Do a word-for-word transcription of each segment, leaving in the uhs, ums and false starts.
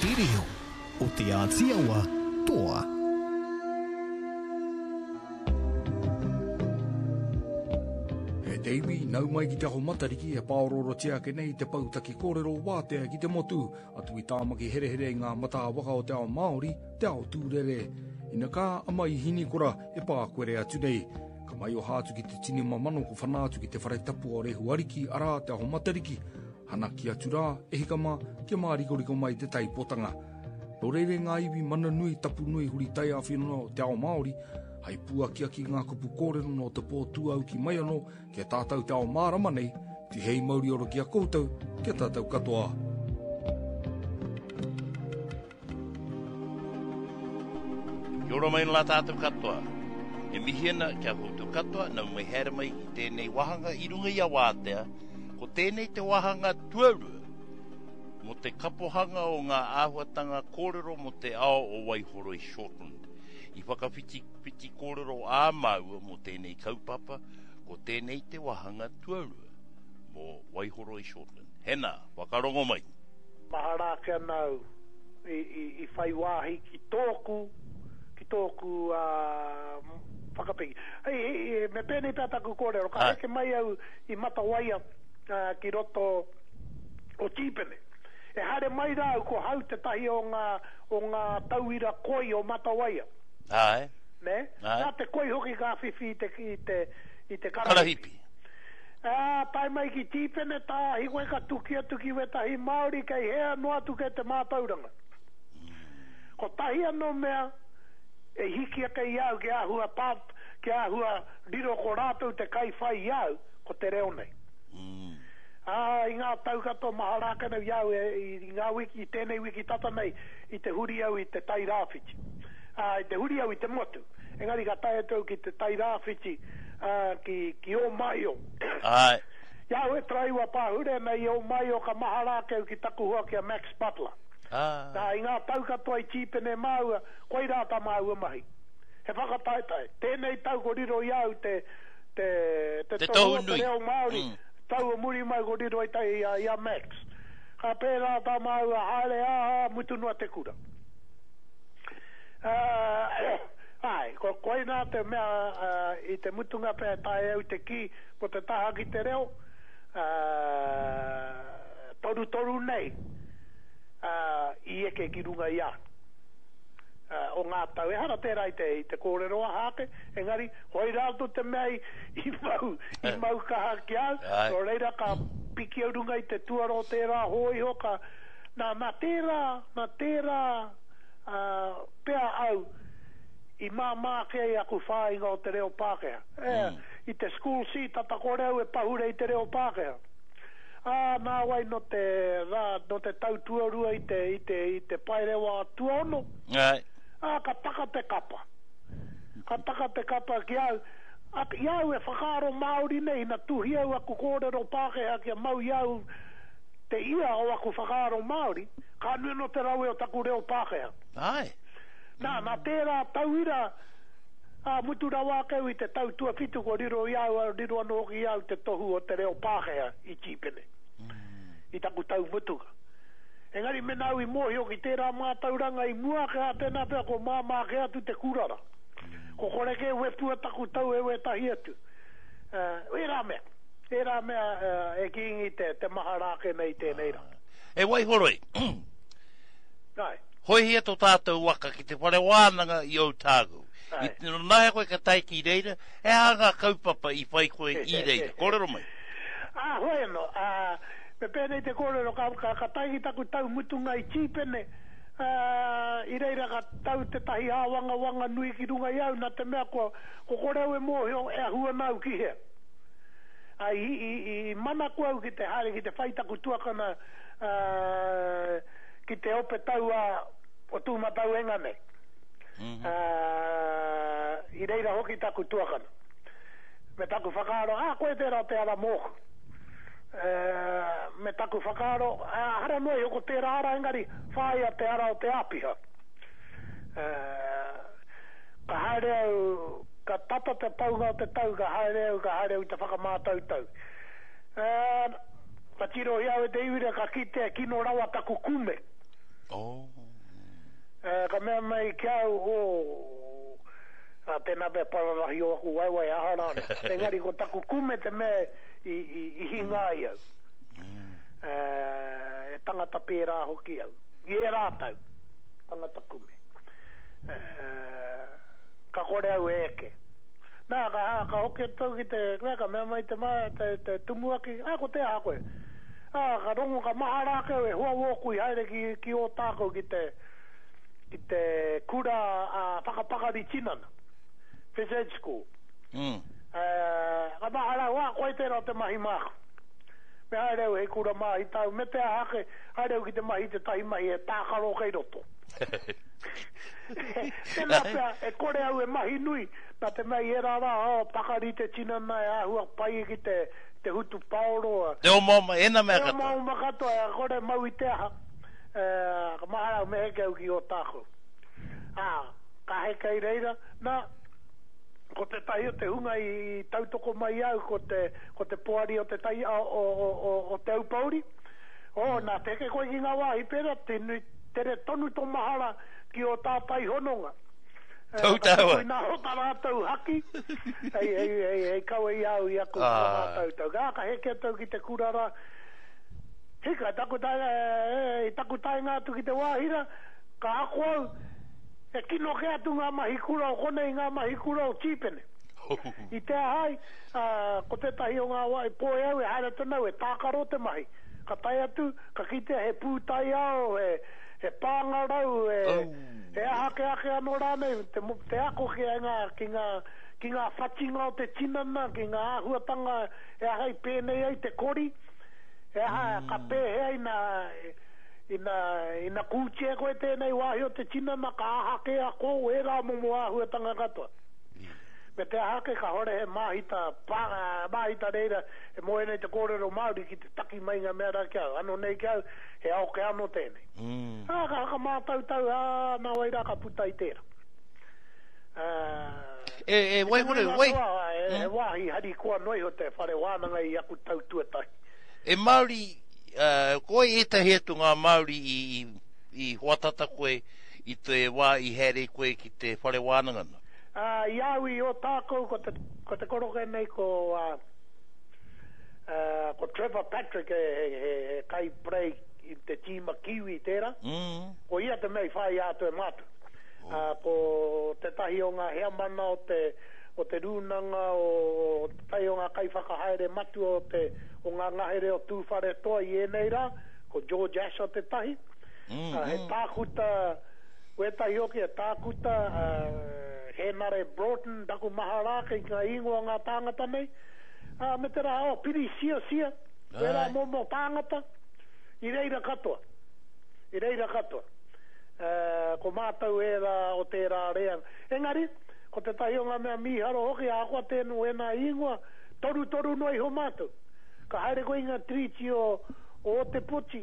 Te reo o Te Āti Awa toa. E te iwi, nau mai ki Te Aho Matariki e pāoroorotia ake nei te pou taki kōrero wātea ki te motu, atu i Tāmaki herehere i ngā matā waka o te ao Māori, te ao tūrere. Ina kā a Maihinikora e pākwere atu nei. Ka maioha atu ki te tini mamano ko whana atu ki te whare tapu o Rehu Ariki, arā Te Aho Matariki. Hanaki atu rā, e hika mā, kia mārikoriko mai te taipotanga. Nō reira ngā iwi mana nui, tapu nui, huri taiāwhina o te ao Māori, hai pūakiaki ngā kupu kōrero nō te pō tūauki mai anō ki a tātou te ao mārama nei, tihei mauri ora ki a koutou, ki a tātou katoa. Kia ora mai la tātou katoa. E mihi ana ki a koutou katoa, nau mai haere mai ki tēnei wāhanga i runga i a Wātea. Ko tēnei te wāhanga tuarua mō te kapohanga o ngā āhuatanga kōrero mō te ao o Waihoroi Shortland. I whakawhitiwhiti kōrero ā māua mō tēnei kaupapa, ko tēnei te wāhanga tuarua mō Waihoroi Shortland. Hena, whakarongo mai! Mahara ake ana au i, i, i whai wāhi ki tōku, ki tōku uh, whakapiki. Hei, hei, me pēnei pea taku kōrero, ka heke mai au i Matawaia uh, ki roto o Tīpene. E haere mai rā au ko hau tētahi o ngā, o ngā tauira koi o Matawaia. Āe. Nē? Āe. Nā te koi hoki ka whiwhi i te, i te, i te karahipi. Karahipi. Ā, tae mai ki Tīpene, tāhi koe ka tuki atu ki wētahi Māori kei hea noa atu kei te mātauranga. Kotahi anō mea e hiki ake i a au kia āhua tā, kia āhua riro ko rātou te kaiwhai i a au, ko te reo nei. Ā, i ngā tau katoa mahara ake nei i a au e, i ngā wiki, i tēnei wiki tata nei, i te huri au i te Tai Rāwhiti. Ā, i te huri au i te motu. Engari ka tae atu au ki te Tai Rāwhiti, ā, ki, ki Ōmaio. Āe. I a au e taraiwa pāhure ana i Ōmaio ka mahara ake au ki taku hoa ki a Max Butler. Ā. Nā, i ngā tau katoa i tīpene māua, koirā tā māua mahi. He whakataetae. Tēnei tau ko riro i a au te, te, te Te tohu tohu o te nui. reo Māori, Mm. tau o muri mai ko riro i, ta, i, a, i a Max. Ka pērā tā māua haere, ā, ā, mutu noa te kura. Ā, āe, ko, koinā te mea, ā, i te mutunga pea e taea au te kī, ko te taha ki te reo, ā, torutoru nei, ā, i eke ki runga i a au. Ā, o ngā tau. Ehara tērā i te, i te kōrero aha ake, engari, koirā anō te mea i, i mau, i mau kaha ki a au, Āe. nō reira ka piki au runga i te tuara o tērā hōiho, ka, nā, nā tērā, nā tērā, ā, pea au i māmā ake ai aku whāinga o te reo Pākehā. E, i te school C, tata kore au e pahure i te reo Pākehā. Ā, nāwai nō te rā, nō te tau tuarua i te, i te, i te paerewa tuaono, Āe. ā, ka taka te kapa. Ka taka te kapa ki a au. Ā, i a au e whakaaro Māori nei, ina tuhi au aku kōrero Pākehā kia mau i a au te ia o aku whakaaro Māori, ka nui anō te rawe o taku reo Pākehā. Āe. Nā, nā tērā tauira, ā, mutu rawa ake au i te tau tuawhitu kua riro i a au, riro anō hoki i a au te tohu o te reo Pākehā i Tīpene, i taku tau mutunga. Engari mēnā au i mōhio ki tērā mātauranga i mua ake, ā, tēnā pea ko māmā kē atu te kurara. Ko kore kē wepua taku tau e wētahi atu. Ā, ērā mea, ērā mea e kīngi te, te mahara ake nei i tēnei rā. E Waihoroi, Āe. Hoehia tō tātou waka ki te whare wānanga i Otago. I Āe. nanaia koe ka tae ki reira, he aha ngā kaupapa i whai koe i reira? Kōrero mai. Ā, hoi anō, ā, me pēnei te kōrero, ka, ka, ka tae ki taku tau mutunga i Tīpene, ā, i reira ka tau tētahi āwangawanga nui ki runga i a au, nā te mea kua, ko kore au e mōhio e ahu ana au ki hea. Ā, i, i, i, i manako au ki te haere ki te whai taku tuakana, ā, ki te ope tauā o Tūmatauenga nei. Ā, i reira hoki taku tuakana. Me taku whakaaro, ā, koe tērā te ara mōku. Ā, me taku whakaaro, ā, ehara noa iho ko tērā ara, engari whāia te ara o te āpiha. Ā, ka haere au, ka tata te paunga o te tau, ka haere au, ka haere au i te whakamātautau. Ā, ka tirohia au e te iwi rā, ka kitea kino rawa taku kume. Oh. Uh, ka mea mai ki au, oh, a, tēnā pea pararahi o aku waewae aha rāne. Engari ko taku kume te mea i, i, i hinga ai au. Mm. Uh, e tangata pērā hoki au. I e rātau, tangata kume. Uh, ka kore au e eke. Nā, ka, ka hoki atu au ki te, nā, ka mea mai te, ma, te, te tumuaki, a, ko te aha koe. Ā, ka rongo, ka mahara ake au e hoa wōku i haere ki, ki Ōtākou ki te, ki te kura a whakapakari tinana, Phys Ed School. Mm. Uh, ka mahara au, a, koe tērā te mahi māku. Me haere au hei kura māhi tāu, me te aha ake, haere au ki te mahi te tahi mahi e tākaro kei roto. Tēnā pea, e kore au e mahi nui, nā te mea i ērā rā, oh, pakari te tinana e āhua pai ki te, te hutu paoro. Te omaoma, ēnā mea Te katoa. omaoma katoa, e kore mau i te aha. E, ka mahara au, me heke au ki Ōtākou. Ā, ka heke i reira, nā, ko tētahi o te hunga i, i tautoko mai au, ko te, ko te poari o te tai, o, o, o, o, o Te Aupouri. Oh, nā, te heke koe ki ngā wāhi pērā, te nui, tere tonu tō mahara ki o tātai hononga. Eh, Tau ka tāua. tuku i nā hota rātou haki, hei, hei, hei, hei kawe i au i aku Ah. whakamātautau. Ka, ka heke atu au ki te kura rā. Hika, taku tae, e, e, taku taenga atu ki te wāhira, ka ako au, e kino ke atu ngā mahi kura o konei, ngā mahi kura o Tīpene. I te ahai, uh, ko tētahi o ngā wā, i poe au e haere tonu au, e tākaro te mahi. Ka tae atu, ka kitea he pūtaiao, he, he pāngarau, he, Oh. he aha ke ake anō rānei, te, mo- te ako ki ngā, ki ngā, ki ngā whatinga o te tinana, ki ngā āhuatanga e aha i pēnei ai te kori, e aha ka pēhea ina, ina, ina kūtia koe tēnei wāhi o te tinana, ka aha ke ako, ērā momo āhuatanga katoa. Me te aha ake ka hore he māhita, pā, māhita reira, e moe nei te kōrero Māori ki te taki mai ngā mea rā ki au. Ano nei ki au, he ao ke ano tēnei. Mm. Ā, ka whakamātautau, ā, nā wai rā ka puta i tērā. Uh, E, e, waihore, wai, He, he wāhi harikoa noa iho te whare wānanga i aku tau tuatahi. e Māori, uh, koe ētahi atu ngā Māori i, i, i hoatata koe i te wā i haere koe ki te whare wānanga na. Uh, i au i Ōtākou, ko te, ko te koroke nei ko, uh, uh, ko Trevor Patrick he, he, he, he kai prei i te tīma Kiwi tērā. Mm. Ko ia te mea i whai atu e mātou. Uh, ko tētahi o ngā heamana o te, o te rūnanga, o, o tētahi o ngā kaiwhakahaere matua o, te, o ngā ngahere o Tūwharetoa i ēnei rā, ko George Asher tētahi. Mm, Uh, he mm. tākuta, wētahi hoki, he tākuta, uh, Henare Broughton, taku mahara ake i ngā ingoa ngā tāngata nei. Uh, me te rā, oh, Piri Sia Sia, wērā Ai. momo tāngata, i reira katoa. I reira katoa. Uh, ko mātou ērā o tērā reanga. Engari, ko tētahi o ngā mea mīharo hoki, ahakoa tēnu ēnā ingoa, toru toru noa iho mātou. Ka haere koe i ngā tiriti o, o Ōtepoti,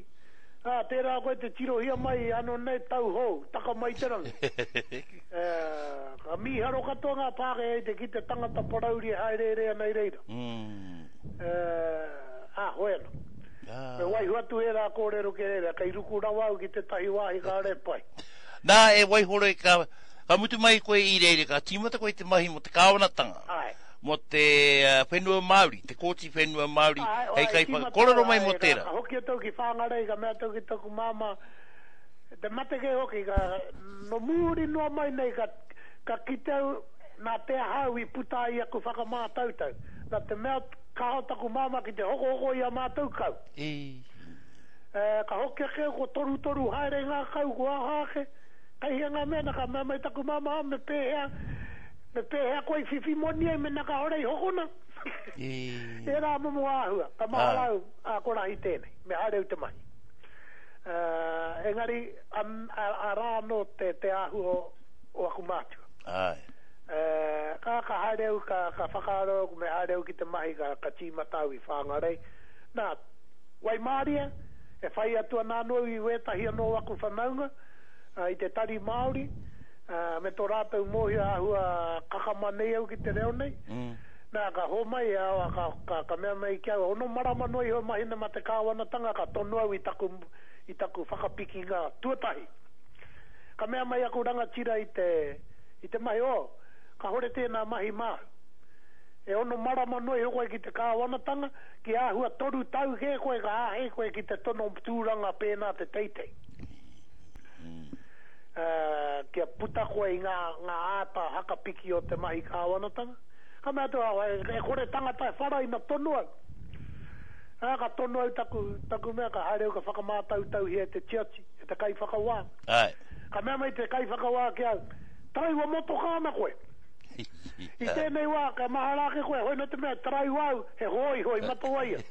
ā, tērā koe te tirohia mai ano nei tau hou, taka mai te rangi. Uh, ka mīharo katoa ngā Pākehā i te ki te tangata parauri e haereere ana i reira. Mm. Uh, ā, hoi anō. Ah. Me waiho atu ērā kōrero ki reira, kei ruku rawa au ki tētahi wāhi kāre pai. Nā, e waihore, ka, ka mutu mai koe i reira, ka tīmata koe te mahi mo te kāwanatanga, Ai. mo te uh, whenua Māori, te kōti whenua Māori, Ai, hei ai, kai tīmata, kōrero mai ai, mo ka- tērā. Ka hoki atu ki Whangarei, ka mea atu ki taku māmā, te mate kei hoki, ka, no mūri noa mai nei, ka, ka kite au, nā te aha au i puta ai aku whakamātautau. Nā te mea kaho taku māmā ki te hokohoko i a mātou kau. E. Eh, ka hoki ake au, ko toru toru haere ngā kau, ko aha ake. Kei hea ngā mea, nā ka mea mai taku māmā, me pēhea, me pēhea koe i whiwhi moni ai, me nā ka hore i hokona. E. Ērā momo āhua, ka mahara Ai. au, ā, ko rahi tēnei, me haere au te mahi. Uh, engari, an, a, a rā anō te, te āhua o, o aku mātua. Ai. Uh, ka, ka haere au, ka, ka whakaaro au, me haere au ki te mahi, ka, ka tīmata au i Whangarei. Nā, Waimāria, e whai atu ana anō i wētahi anō o aku whanaunga, uh, i te tari Māori, uh, me tō rātou mōhio āhua kakama nei au ki te reo nei. Mm. Nā, ka hōmai, a, ka, ka, ka mea mai ki au, ono marama noa iho mahi na ma te kāwanatanga, ka tono au i taku, i taku whakapikinga tuatahi. Ka mea mai aku rangatira i te, i te mahi, oh, kahore tēnā mahi māu. E ono marama noa iho koe ki te kāwanatanga, ki āhua toru tau kē koe ka āhei koe ki te tono tūranga pēnā te teitei. Uh, kia puta koe i ngā, ngā āta hakapiki o te mahi kāwanatanga. Ka mea atu, e, e kore tangata e whara ina tono au. Ā, ka tono au taku, taku mea, ka haere au ka whakamātautauhia e te tiati, e te kaiwhakawā. Ai. Ka mea mai te kaiwhakawā ki au, taraiwa motoka ana koe. I tēnei wā, ka mahara ake koe, hoi no te mea, taraiwa au, he hōiho i Matawaia.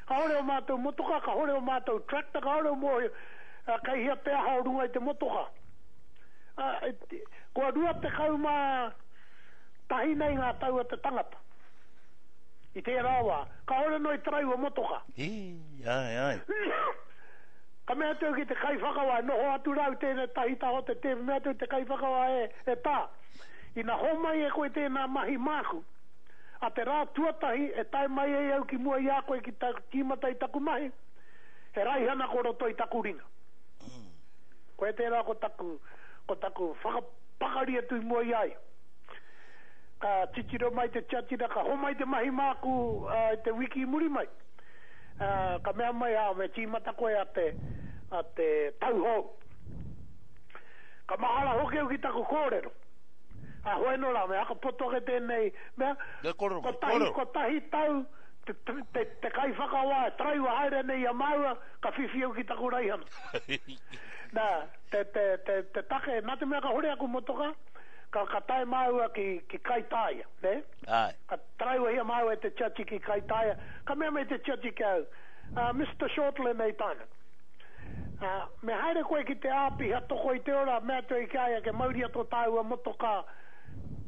Kahore o mātou motoka, kahore o mātou tractor, kahore o mōhio, kei hea te aha o runga i te motoka. Uh, kua rua tekau mā tahi nei ngā tau a te tangata. I tērā wā, kahore no i taraiwa motoka. Hi, ai, ai. Ka mea atu ki te kaiwhakawā, noho atu rau tēnei tahi taho te te, mea atu te kaiwhakawā e, e tā. Ina homai e koe tēnā mahi māku. A te rā tuatahi e tae mai ei au ki mua i a koe ki ta, tīmata i taku mahi, he raihana ko roto i taku ringa. Mm. Koe tērā ko taku, ko taku whakapakari atu i mua i ai. Ka titiro mai te tiatira, ka homai te mahi māku uh, i te wiki i muri mai. Uh, ka mea mai, a, me tīmata koe a te, a te tauhou. Ka mahara hoki au ki taku kōrero. A hoi no rā, me hakapoto ake tēnei mea, Ne kōrero mai, kotahi, kōrero. kotahi tau te, te, te, te kaiwhakawā e taraiwa haere nei i a māua, ka whiwhi au ki taku raihana. Nā, te, te, te, te take, nā te mea ka hore aku motoka, ka, ka tae māua ki, ki Kaitaia, ne? Ai. Ka taraiwahia māua e te tiati ki Kaitaia, ka mea mai te tiati ki au, uh, Mister Shortland ei tāna. Uh, me haere koe ki te āpiha toko i te ora, mea atu ai ki a ia ke mauria tō tāua motoka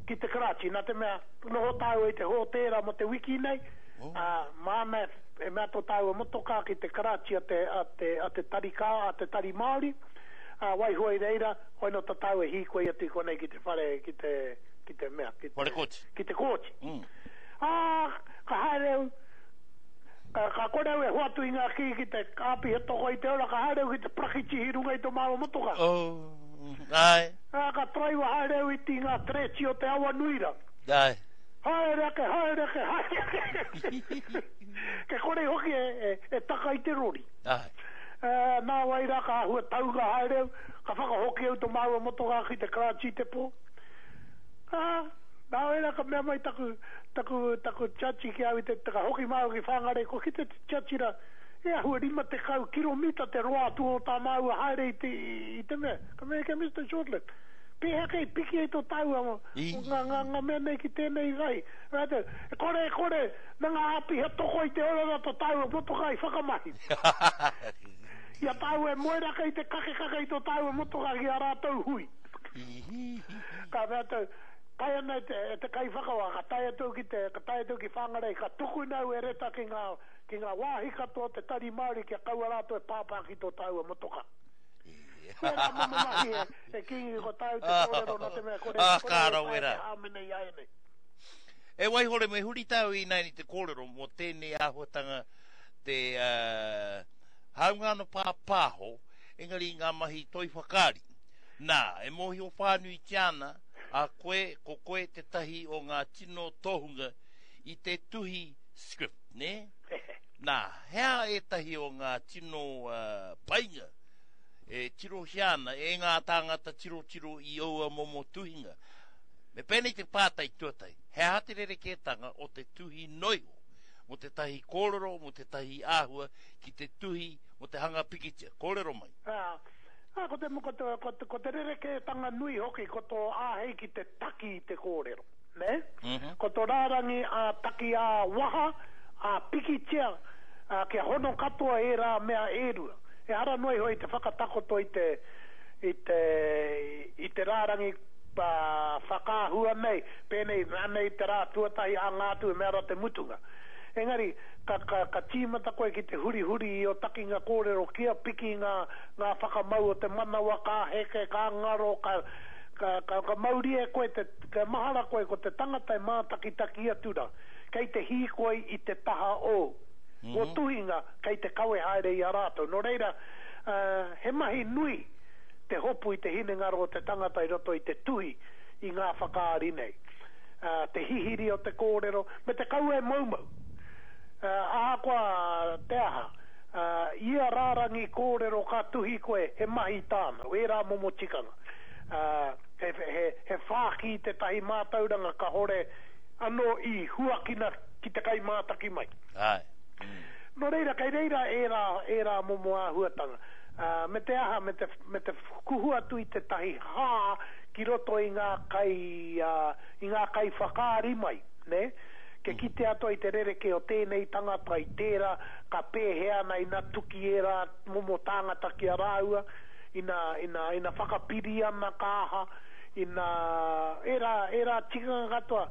ki te karachi. Nā te mea, noho tāua i te hōtēra mo te wiki nei, Oh. uh, māna e mea tō tāua motoka ki te karachi a te, a te, a te tari kā, a te tari Māori, uh, waiho i reira, hoi no tā tāua hīkoi atu i konei ki te whare, ki te, ki te mea, ki te, Whare kōti. ki te kōti. Mm. Ā, ka haere au, ka, ka kore au e hoatu i ngā kī ki te āpiha toko i te ora, ka haere au ki te prakitihi runga i tō māua motoka. Oh, ai. Ā, ka taraiwa haere au i ti ngā treci o te awa nui rā. Ai. Haere ake, haere ake, haere ake. Ke kore hoki e, e, e taka i te rori. Ai. Uh, nā wai rā ka āhua taunga haere au, ka whakahoki au tō māua motoka ki te karachi te pō. Ā, nā wai rā ka mea mai taku, taku, taku tiati ki au i te, ka hoki māua ki Whangarei, ko ki te tiati rā, e āhua rima tekau kiromita te roa atu o tā māua haere i te, i te mea. Ka mea kia Mister Shortland, pēhea kei piki ai tō tāua mo, I. ngā, ngā, ngā mea nei ki tēnei rai. Rātou, e kore, e kore, nā ngā āpiha toko i te ora rā tō tāua motoka i whakamahi. I a tāua e moeraka i te kakekake i tō tāua motoka ki a rātou hui. Ka mea atu, tae ana e te, e te kaiwhakawā, ka tae atu ki te, ka tae atu ki Whangarei, ka tukuna au e reta ki ngā, ki ngā wāhi katoa te tari Māori kia kaua rātou e pāpā ki tō tāua motoka. Koe rā momo mahi e, e Kingi ko tāu te kōrero nā te mea kore, Ah, kore ka e tae rawe rā. te hāmene i ai nei. E waihore me huri tāu i nei te kōrero mō tēnei āhuatanga te uh, haunga no pāpāho, engari ngā mahi toi whakaari. Nā, e mōhio whānui te ana, a koe, ko koe te tahi o ngā tino tohunga i te tuhi script, ne? Nā, hea e tahi o ngā tino uh, painga e tirohia ana e ngā tāngata tirotiro i oua momo tuhinga. Me pēnei te pātai tuatai, he aha te rerekētanga o te tuhi noiho, mo te tahi kōrero, mo te tahi āhua, ki te tuhi mo te hanga pikitia. Kōrero mai. Ā, ā, ko te, ko te, ko te, ko te rerekētanga nui hoki, ko tō āhei ki te taki i te kōrero. Ne? Mm-hmm. Ko tō rārangi a taki a waha, a pikitia, a, kia hono katoa e rā mea e rua. E hara noa iho i te whakatakoto i te, i te, i te rārangi uh, whakaahua nei, pēnei anei te rā tuatahi a ngā atu e mea rā te mutunga. Engari, ka, ka, ka tīmata koe ki te hurihuri i o takinga kōrero kia piki ngā, ngā whakamau o te manawa, ka heke, ka ngaro, ka, ka, ka, ka mauri e koe, te, ka mahara koe ko te tangata e mātakitaki atu rā. Kei te hīkoi i te taha o. Mm -hmm. O tuhinga kei te kawe haere i a rātou. Nō reira, Uh, he mahi nui te hopu i te hinengaro o te tangata i roto i te tuhi i ngā whakaari nei. Uh, te hihiri o te kōrero, me te kaua e moumou. Uh, ahakoa te aha, uh, ia rārangi kōrero ka tuhi koe, he mahi tāna, wērā momo tikanga. Uh, he, he, he whāki tētahi mātauranga kahore anō i huakina ki te kai mātaki mai. Ai. Mm. Nō reira, kei reira ērā, ērā momo āhuatanga. Uh, me te aha, me te, me te kuhu atu i tētahi hā ki roto i ngā kai, uh, i ngā kai whakaari mai, ne? Ke kite atu i te rereke o tēnei tangata i tērā, ka pēhea ana ina tuki ērā momo tāngata ki a rāua, ina, ina, ina whakapiri ana ka aha, ina, ērā, ērā tikanga katoa,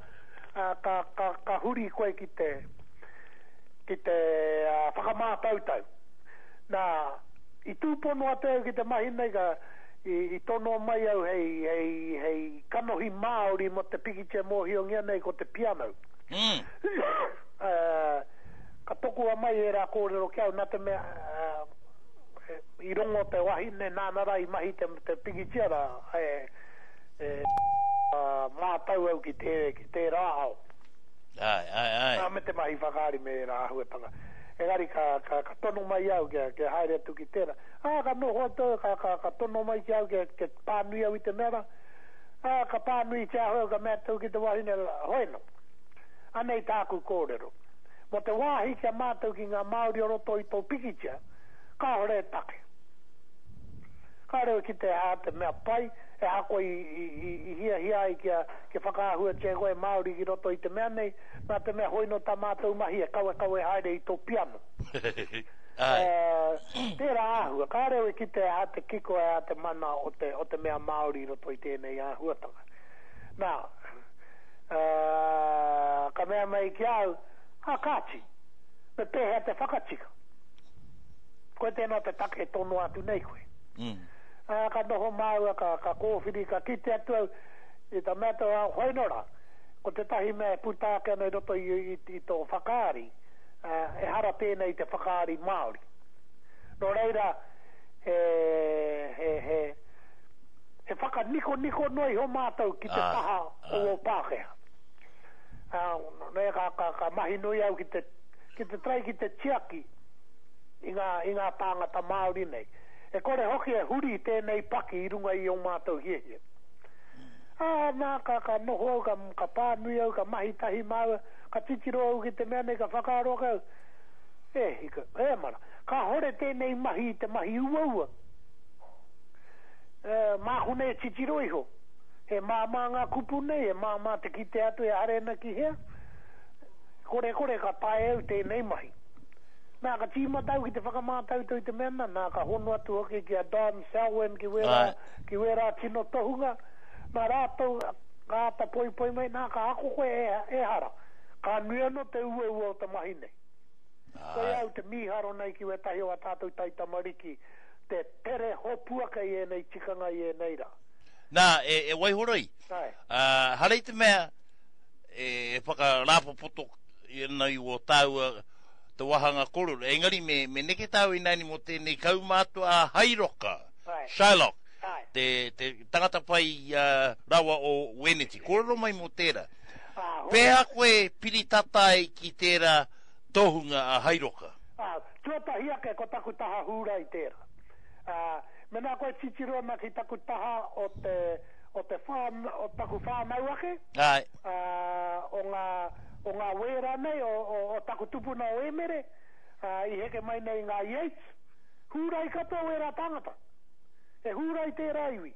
uh, ka, ka, ka huri koe ki te, ki te uh, whakamātautau. Nā, i tūpono atu au ki te mahi nei ka, i, i tono mai au hei, hei, hei kanohi Māori mo te pikitia mōhiongia nei ko te piano. Mm. Uh, ka tokua mai e rā kōrero ki au, nā te mea, uh, i rongo te wahine nāna rā i mahi te, te pikitia rā, e, e, uh, mātau au ki te, ki tērā ao. Ai, ai, ai. Nā, me te mahi whakaari me rā āhuatanga. Engari ka, ka, ka tono mai au kia, kia haere atu ki tērā. Ā, ka noho atu, ka, ka, ka tono mai ki au kia, kia pānui au i te mea rā. Ā, ka pānui te ahau, ka mea atu ki te wahine, hoeno. Anei tāku kōrero. Mo te wāhi kia mātou ki ngā Māori o roto i tō pikitia, kāhore e take. Kāore ki te hā te mea pai, e hako i, i, i, i hiahia ai kia, kia whakaahuatia koe Māori ki roto i te mea nei, nā te mea hoino tā mātou mahi e kawe kawe haere i tō piano. Ai. Uh, tērā āhua, kāre ki te hā te kiko e hā te mana o te, o te mea Māori i roto i tēnei āhuatanga. Nā, uh, ka mea mai ki au, a kāti, me pēhea te whakatika. Koe tēnā te take tono atu nei koe. Mm. Ā, ka noho māua, ka, ka kōwhiri, ka kite atu au, i ta mea tau, hoino rā, ko tētahi mea e puta ake ana i roto i, i, i tō whakaari, uh, ehara tēnei te whakaari Māori. Nō reira, he, he, he, he whakanikoniko noa iho mātou ki te Ai, taha o ai. o Pākehā. Uh, ne, ka, ka, ka mahi nui au ki te, ki te trai ki te tiaki i ngā, i ngā tāngata Māori nei. E kore hoki e huri tēnei paki i runga i o mātou hiahia. Ā, nā, ka, ka noho au, ka, ka pānui au, ka mahi tahi māua, ka titiro au ki te mea nei, ka whakaaro ake au. E, hika, e mara, ka hore tēnei mahi i te mahi uaua. E, māku nei e titiro iho. He māmā ngā kupu nei, he māmā te kite atu e haere ana ki hea. Kore kore ka tae au tēnei mahi. Nā, ka tīmata au ki te whakamātautau i te mea nā, nā, ka hono atu hoki ki a Don Selwyn ki wērā, Ai. ki wērā tino tohunga. Nā rātou, ka āta poipoi mai, nā, ka ako koe e, e hara. Ka nui anō te uaua o te mahi nei. Koe Ai. au te mīharo nei ki wētahi o a tātou taitamariki, te tere hopu ake i ēnei tikanga i ēnei rā. Nā, e, e waihoroi. Ai. Uh, harei te mea e whakarāpopoto i ana i o tāua te wahanga kororo. Engari me, me neke tāu i nani mo tēnei kaumātua a Hairoka, Ai. Shylock, Ai. te, te tangata whai uh, rawa o Weneti. Kōrero mai mo tērā. Ā, ho- Pēhea koe piritatai ki tērā tohunga a Hairoka? Ā, tuatahi ake ko taku taha hūrai tērā. Ā, mena koe titiro ana ki taku taha o te, o te whān, o taku whānau ake, Ai. ā, o ngā, o ngā wēra nei, o, o, o taku tupuna o Emere, ā, i heke mai nei ngā Yates, hūrai katoa wērā tāngata. E hūrai tērā iwi.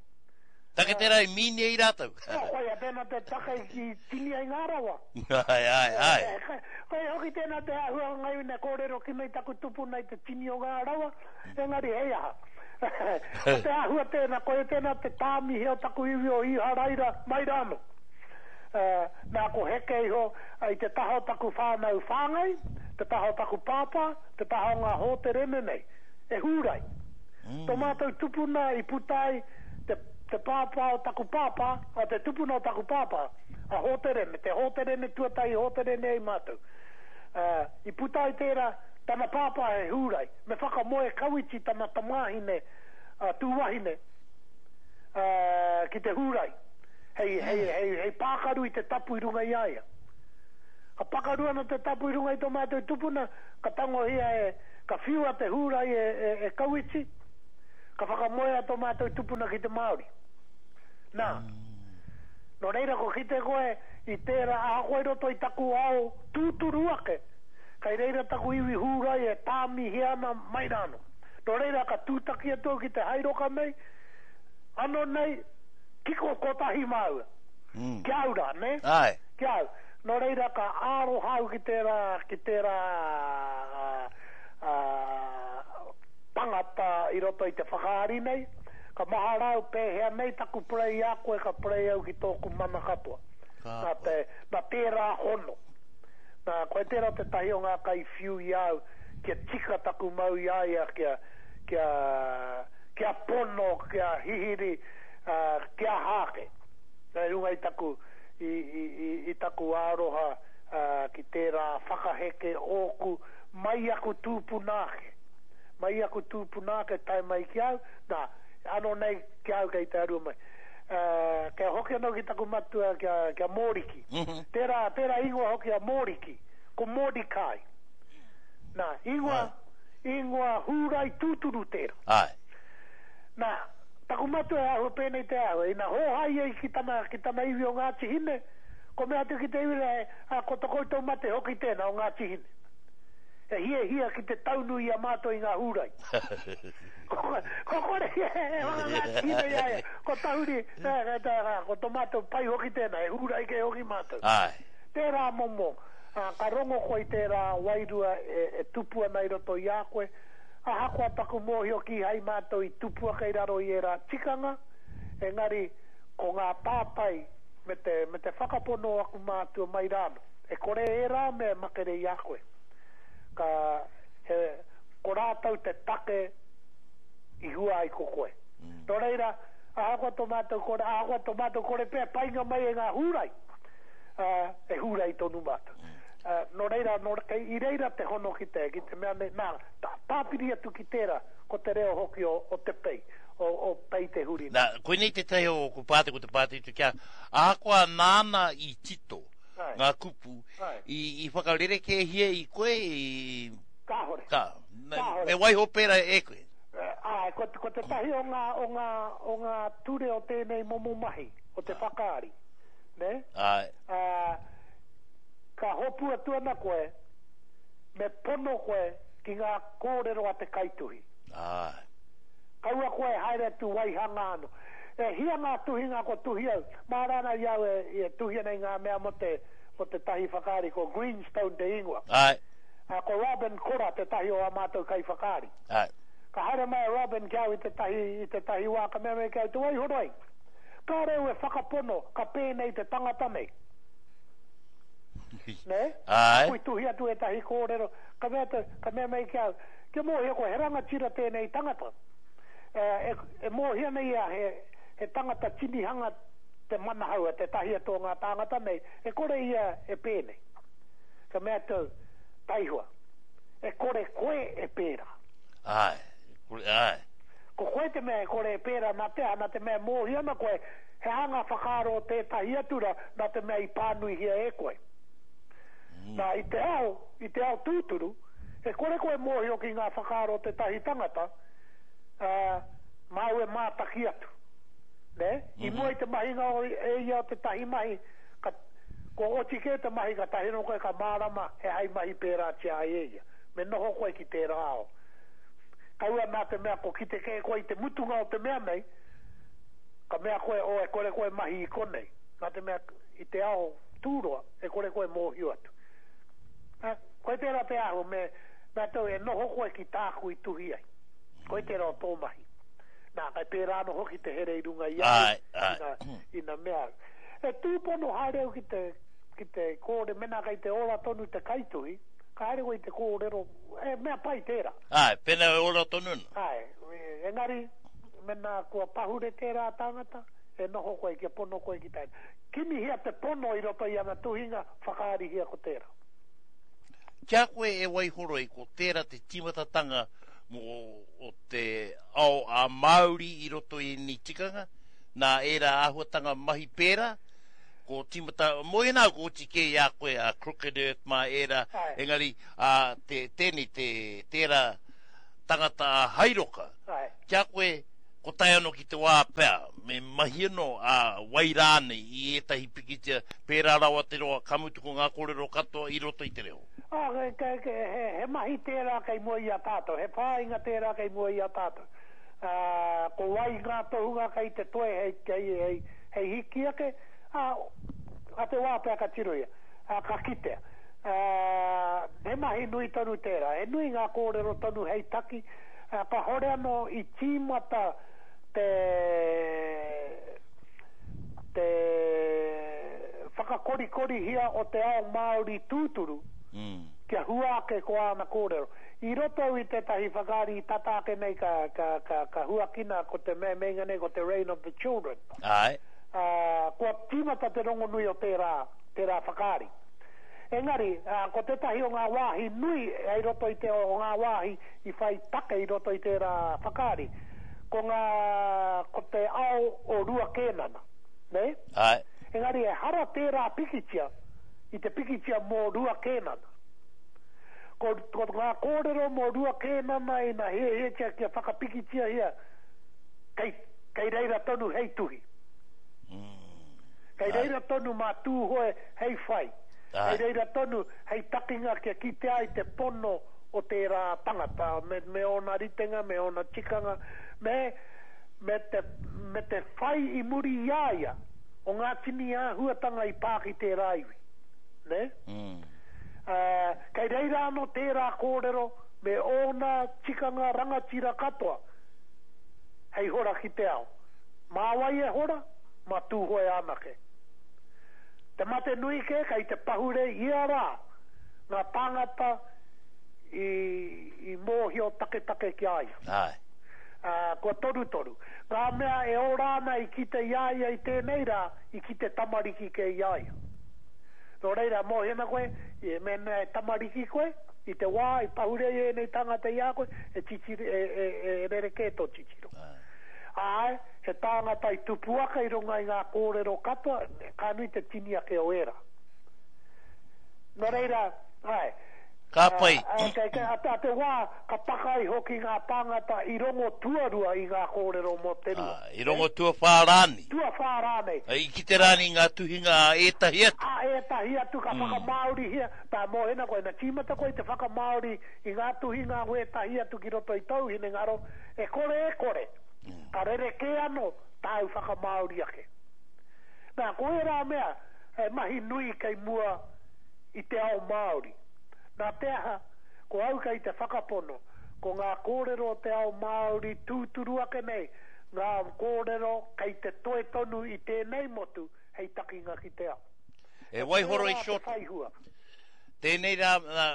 Take tērā i mīni i rātou. Oh, koia tēnā te take i tini ai ngā rawa. Ai, ai, ai. Koia hoki tēnā te āhua o ngā iwi kōrero ki nei taku tupuna i te tini o ngā rawa, engari hei aha. Ko te āhua tēnā, koia tēnā te tāmihe o taku iwi o Iharaira mai rāno. Uh, nā ko heke iho i te taha o taku whānau whāngai, te taha o taku pāpā, te taha o ngā hōterene nei, e hūrai. Mm. Tō mātou tupuna i puta ai te, te pāpā o taku pāpā, o te tupuna o taku pāpā, a hōterene, te hōterene tuatahi hōterene ai mātou. Uh, i puta ai tērā, Tana pāpā he Hūrai. Me whakamoe Kawiti tana tamāhine, a Tūwahine, ā, ki te Hūrai, hei, hei, hei, hei pākaru i te tapu i runga i a ia. Ka pakaru ana te tapu i runga i tō mātou tupuna, ka tangohia e, ka whiua te Hūrai e, e, e Kawiti, ka whakamoea tō mātou tupuna ki te Māori. Nā, nō reira ko kite koe i tērā ahakoa i roto i taku ao tūturu ake, kei reira taku iwi Hūrai e tāmihia ana mai rānō. Nō reira ka tūtaki atu au ki te hairoka nei, ano nei, kiko kotahi māua. Ki a au rā, nē? Āe. Ki a au. Nō reira ka aroha au ki tērā, ki tērā tangata i roto i te whakaari nei, ka mahara au pēhea nei taku purei i a koe ka purei au ki tōku mana katoa. Nā te, nā tērā hono. Nā, koe tērā tētahi o ngā kaiwhiu i a au kia tika taku mau i a ia kia, kia, kia pono, kia hihiri, ā, kia aha ake. Nā, i runga i taku, i, i, i, i taku aroha, ā, ki tērā whakaheke ōku mai i aku tūpuna ake. Mai i aku tūpuna ake tae mai ki au, nā, anō nei ki a au kei te arua mai. Ā, kia hoki anō ki taku matua, ki a, ki a Mōriki. Tērā, tērā ingoa hoki a Mōriki, ko Mordecai. Nā, ingoa, ingoa Hūrai tūturu tērā. Āe. Nā, taku matua he āhua pēnei te āhua, ina hōhā ia ki tana, ki tana iwi o Ngāti Hine, ko mea atu ki te iwi rā, ā, ko to koutou mate hoki tēnā o Ngāti Hine. He hiahia ki te taunu i a mātou i ngā Hūrai. Ko, ko kore ia e whaka-Ngāti Hine i a ia, ko tahuri, ē, ko to mātou pai hoki tēnā, he Hūrai kē hoki mātou. Āe. Tērā momo, ā, ka rongo koe i tērā wairua e, e tupu ana i roto i a koe, ahakoa taku mōhio kīhai mātou i tupu ake i raro i ērā tikanga, engari ko ngā tātai me te, me te whakapono o aku mātua mai rānō, e kore ērā mea e makere i a koe. Ka, he, ko rātou te take i hua ai ko koe. Nō reira, ahakoa tō mātou kore, ahakoa tō mātou kore pea painga mai e ngā Hūrai, ā, e Hūrai tonu mātou. Ā, nō reira, nō, kei, i reira te hono ki te, ki te mea nei, nā, tā, tāpiri atu ki tērā, ko te reo hoki o, o Te Pei, o, o Pei Te Hurinui. Nā, koinei tētahi o ōku pātai, ko te pātai atu ki a, ahakoa nāna i tito Āe. ngā kupu, Āe. i, i whakarerekēhia i koe, i... Kāhore. Ka, me, Kāhore. me waiho pērā e koe. Āe, ko, ko tētahi o ngā, o ngā, o ngā ture o tēnei momo mahi, o te whakaari, nē? Āe. Ā, ka hopu atu ana koe, me pono koe ki ngā kōrero a te kaituhi. Āe. Kaua koe e haere atu waihanga anō. E hia ngā tuhinga kua tuhi au, māra ana i au e, e tuhi ana i ngā mea mō te, mō tētahi whakaari, ko Greenstone te ingoa. Āe. Ā, ko Robin Kora tētahi o ā mātou kaiwhakaari. Āe. Ka haere mai a Robin ki a au i tētahi, i tētahi wā, ka mea mai ki a au, Te Waihoroi, kāre au e whakapono ka pēnei te tangata nei. Nē? Āe. Aku i tuhi atu ētahi kōrero, ka mea atu, ka mea mai ki a au, Kia mōhio koe, he rangatira tēnei tangata. E, e, e mōhio ana ia he, he tangata tinihanga te manahau a tētahi atu o ngā tāngata nei, e kore ia e pēnei. Ka mea atu au, Taihoa, e kore koe e pērā. Āe, e kore, āe. Ko koe te mea e kore e pērā nā te aha, nā te mea e mōhio ana koe he aha ngā whakaaro o tētahi atu rā, nā te mea i pānuihia e koe. Nā, i te ao, i te ao tūturu, e kore koe e mōhio ki ngā whakaaro o tētahi tangata, ā, māu e mātaki atu. Nē? I mua i te mahinga o, e ia o tētahi mahi, ka, kua oti kē te mahi katahi anō koe ka mārama he aha i mahi pērātia ai e ia. Me noho koe ki tērā ao. Kaua nā te mea ko kite kē koe i te mutunga o te mea nei, ka mea koe, oh, e kore koe mahi i konei. Nā te mea, i te ao tūroa, e kore koe mōhio atu. Ā, koe tērā te āhua me, mea tou e noho koe ki tāku i tuhi ai. Koe tērā o tō mahi. Nā, kai pērā anō hoki te here i runga i a au, Āe, āe. ina, ina mea au. E tūpono haere au ki te, ki te kōre, mēnā kei te ora tonu te kaituhi, ka haere koe i te kōrero, he mea pai tērā. Āe, pēnā e ora tonu ana. Āe, engari, mēnā kua pahure tērā tangata, e noho koe, kia pono koe ki tāna. Kimihia te pono i roto i ana tuhinga, whakaarihia ko tērā. Kia koe e Waihoroi, ko tērā te tīmatatanga mō o te ao a Māori i roto i ēnei tikanga, nā ērā āhuatanga mahi pērā, ko tīmata, mō ēnā ko oti kē i a koe a Crooked Earth mā ērā, engari a, te, tēnei, te, tērā tangata a Hairoka, kia koe, ko tae anō ki te wā pea, me mahi anō a wai rānei i ētahi pikitia, pērā rawa te roa, ka mutu ko ngā kōrero katoa i roto i te reo. Ah, ke, ke, ke, he, he mahi tērā kei mua i a tātou, he whāinga tērā kei mua i a tātou. Uh, ko wai ngā tohunga kei te toe hei, hei, hei, hei hiki ake, ah, a te wā pea ka tirohia, ah, ka kitea. Uh, he mahi nui tonu tērā, he nui ngā kōrero tonu hei taki, uh, ka hore anō i tīmata te, te whakakorikorihia o te ao Māori tūturu, mm. kia hua ake ko āna kōrero. I roto i tētahi whakaari i tata ake nei ka, ka, ka, ka huakina ko te me meinga nei ko te Reign of the Children. Ai. Uh, kua tīmata te rongonui o tērā, tērā whakaari. Engari, uh, ko tētahi o ngā wāhi nui i roto i te o ngā wāhi i whai take i roto i tērā whakaari, ko ngā, ko te ao o Rua Kēnana. Ne? Ai. Engari, e hara tērā pikitia, i te pikitia mō Rua Kēnana. Ko, ko ngā kōrero mō Rua Kēnana i nā hiahiatia kia whakapikitia hia, kei, kei reira tonu hei tuhi. Mm. Kei reira tonu mā Tūhoe hei whai. Ai. Kei reira tonu hei takinga kia kite ai te pono o tērā tangata, me, me ōna ritenga, me ōna tikanga, me, me, te, me te whai i muri i a ia o ngā tini āhuatanga i pā ki tērā iwi. Ne? Mm. Uh, kei reira anō tērā kōrero me ōna tikanga rangatira katoa hei hora ki te ao. Mā wai e hora, mā Tūhoe anake. Te mate nui ke, kei te pahure ia rā ngā tāngata i, i mōhio taketake ki a ia. Ai. Uh, kua torutoru. Ngā mea e ora ana i kite i a ia i tēnei rā, i kite tamariki ke i a ia. Nō reira, mōhio ana koe, i mēnā e tamariki koe, i te wā, i pahure i ēnei tangata i a koe, e, titiro, e, e, e rerekē tō titiro. Āe, he tāngata i tupu ake i runga i ngā kōrero katoa, ka nui te tini ake o ērā. Nō reira, āe, Ka pai. A, a, a, a te wā, ka takai hoki ngā tāngata i rongo tuarua i ngā kōrero mō te rua. Ah, i rongo tuawhā rānei. Tuawhā rānei. I kite rānei ngā tuhinga a ētahi atu. A ētahi atu ka mm. whakamāorihia, tā mōhena koe, na tīmata koe te whakamāori i ngā tuhinga o ētahi atu ki roto i tōu hinengaro, e kore e kore, mm. ka rerekē anō tāu whakamāori ake. Nā, ko ērā mea, e mahi nui kei mua i te ao Māori. Nā te aha, ko au kei te whakapono, ko ngā kōrero o te ao Māori tūturu ake nei, ngā kōrero kei te toe tonu i tēnei motu hei takinga ki te ao. E Waihoroi Shorten, tēnei rā, nā,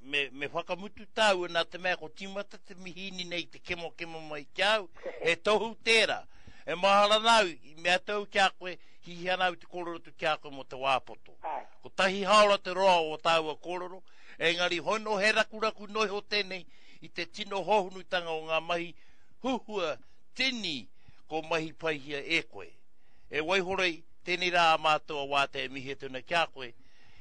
me, me whakamutu tāua nā te mea ko tīmata te mihīni nei te kemokemo mai ki au, he tohu tērā. E mahara nāu, i mea tau ki a koe, hihi ana au te kōrero tu ki a koe mō te wā poto. Ko tahi haora te roa o tāua kōrero, engari hono he rakuraku noiho tēnei i te tino hohunutanga o ngā mahi huhua tini ko mahi paihia e koe. E Waihoroi, tēnei rā a mātou a wātea e mihi atu ana ki a koe,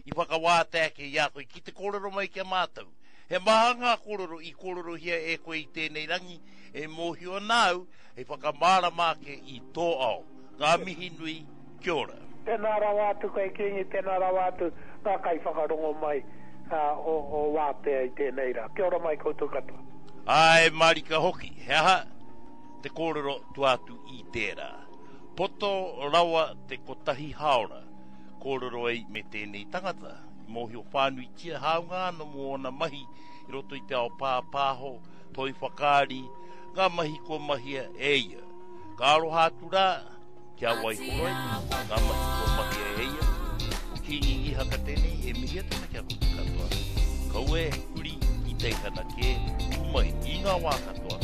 i whakawātea ake i a koe ki te kōrero mai ki a mātou. He maha ngā kōrero i kōrerohia e koe i tēnei rangi, e mōhio ana au, hei whakamārama ake i tō ao. Ngā mihi nui, kia ora. Tēnā rawa atu koe Kingi, tēnā rawa atu ngā kai whakarongo mai uh, o, o wātea i tēnei rā. Kia ora mai koutou katoa. Ai, marika hoki, he aha te kōrero tuatu i tērā. Poto rawa te kotahi haora kōrero ei me tēnei tangata. I mōhio whānuitia hāunga anō mō ōna mahi i roto i te ao pāpāho, toi whakaari, ngā mahi kua mahia e ia. Ka aroha atu rā, kia Waihoroi, ngā mahi kua mahia e ia. Ko Kingi Ihaka tēnei, e mihi atu ana kia koutou katoa. Kaua e huri i teihana kē, ū mai i ngā wā katoa,